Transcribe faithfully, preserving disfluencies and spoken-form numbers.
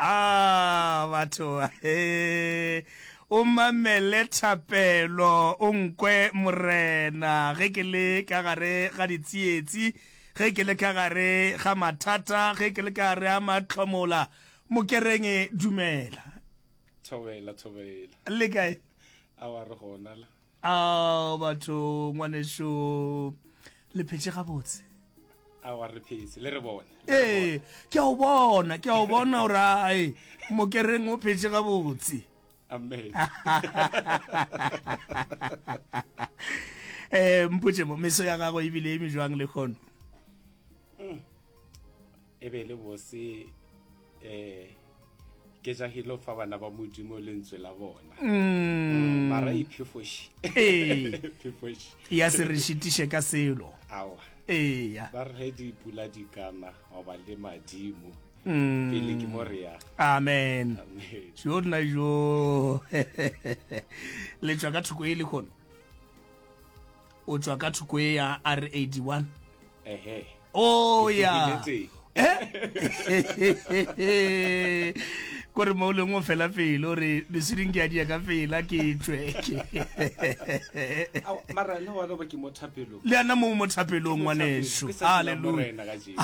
A batho he o mamele thapelo o nkwe morena ge ke le ka gare ga ditsietsi ge ke le ka gare ga mathata ge ke le ka gare ga mahlomola mokereng dumela thobela thobela le kae awa re gona la a batho ngwaneso le phetše gabotse awa re phetse le re bone ee ke a o bona ke a o bona gore ae mokereng o phetše gabotse amen um mpotse mo meso ya gago ebile e mejwang le kgono e be le bose um ke jahile fa bana ba modimo lentswe la bona Mm. mara iphefoši ee phefoši ya se re šitiše ka selo awa eya ba re ge dipula di kana goba le madimo Mm. pele ke mo re ya amen amen jo nna jo le tšwa ka thoko e le kgono o tšwa ka thoko e ya r eighty-one ehe o Ke ya tlogile teng. Eh? kore mo o leng o fela pele o re mesweding ke a dia ka pela ke tšwe Awa, mara le gona ba ke mo thapelong le ana mo mo thapelong Ke mo ngwaneso thapelong, ke sa dula halleluja Morena kajeno. halleluja